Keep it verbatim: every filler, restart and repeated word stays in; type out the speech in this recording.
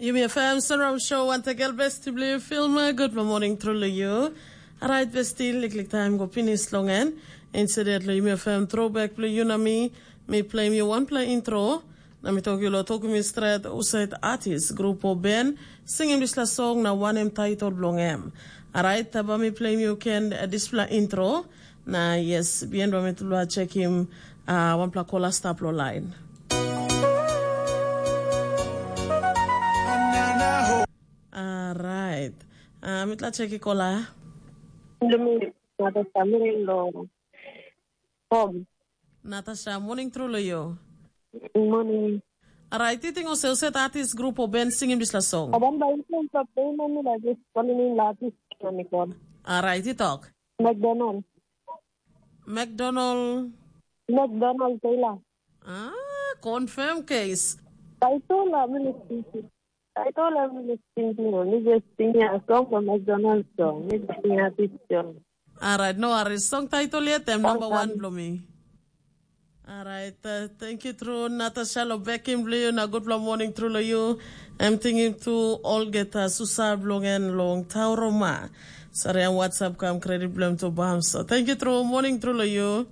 Yumi F M Sunrise Show wantakel besti bilong yu filma. Gutpela morning tru long yu. Alright besti, liklik taim go pinis long en. Instead long Yumi F M throwback bilong yu na mi, mi pleim yu wanpela intro. Na mi tok yu lo tokim mi stret usait artist, grup o ben, singim dispela song na wanem title bilong em. Alright, taba mi pleim yu ken eh, dispela intro. Na yes, bien ba mi tula checkim uh, wanpela kola stap lo line. Alright. Uh, mitla checki kola. Dumi, nada sa mirin lo. Home. Natasha, morning tru lo yo. Morning. Alright, you think also set artist group o ben singim dispela song. Aban ba influence of pain on me like this, calling in la artist on me call. Alright, you talk. McDonald. McDonald. McDonald Taylor. Ah, confirm case. Title, I mean, it's title, I mean, it's thinking, only just singing a song from McDonald's song. It's singing a picture. Alright, no worries. Song title yet, I'm number one, Blomi. Alright, uh, thank you, true. Natasha, lo bekim, Blomi, na good morning, true, lo you. I'm thinking to all get a susa blong and long tauroma. Sorry, I'm WhatsApp come credit blame to Bam. So thank you, true. Morning, true, lo you.